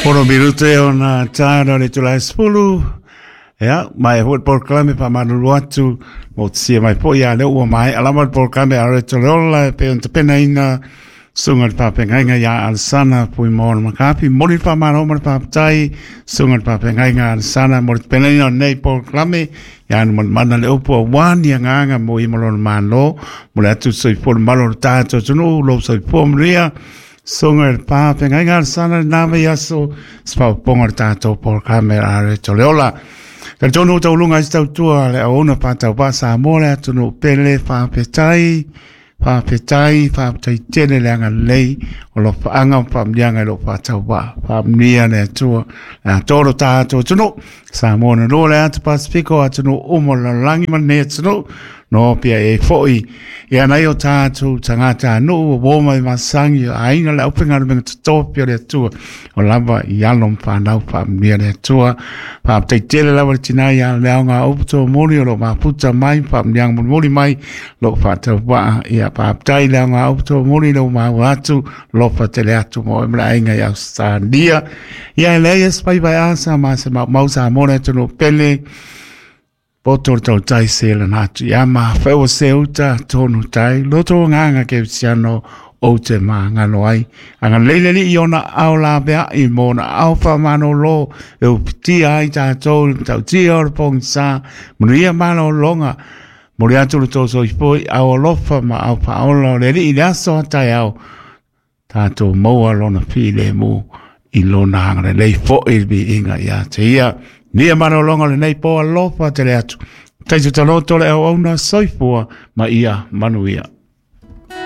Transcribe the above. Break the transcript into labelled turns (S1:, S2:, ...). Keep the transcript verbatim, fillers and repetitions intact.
S1: Pono minuto e ona tāna le tula spulu. Ia, mai hoi polokalame faamalulu atu mo te sia mai foi ia lea ua maea lava le polokalame a le Toleola e pei ona tapenaina susuga i le faafeagaiga ia Alesana Fuimaono Makafi. Momoli le faamalo ma le faafetai susuga i le faafeagaiga Alesana mo le tapenaina o lenei polokalame ia anu manamana le upu auā ni agaga mo ia ma lona Malo mo le atu soifua le malo o le tatou atunuu lou soifua manuia. Susuga i le faafeagaiga Alesana lena vaiaso se faaopoopoga o le tatou polokalame a le Toleola. Talitonu ua tauluga ai se tautua le auauna faatauvaa Samoa le atunuu pele faafetai, faafetai, faafetai tele le agalelei o lofaaga ma faamanuiaga i lou faatauvaa. Faamanuia le Atua le atoa lo tatou atunuu. Samoa na lua le atu Pasifika o atunuu uma o le lalolagi ma lenei atunuu. No pia e foi ia nai o tātou tagata nuu o uo mai masagi o aiga le aufaigaluega totofi o le Atua o lava i alo ma whanau whaamanuia le Atua. Faafetai tele lava le tinā ia le aoga upu tomoli o lo mafuta mai faamanuiaga mulimuli mai lou faatauvaa. Ia faafetai le aoga upu tomoli lou maua atu lofa tele atu mo e ma le aiga i Ausetalia. Ia e leai e se faiva e asa ma se maumau Samoa le atunuu pele. Poto le tautai se lana atu ia ma whaewa se uta tonu tai loto nganga ke siano o te maangalo ai. Anga leile li i ona ao la bea i mona ao whamano lo e upitia ai tātou le tautia o le pongisa manuia malo longa. Mori atu le tō soifoi au alofa ma au whaola o le li i le aso atai au tātou maua lona file mu i lona hanga le lei fo i le inga ia te ia. Nia manolonga le nei po alofa tele atu. Taito taloto le au auna soifua ma ia manuia.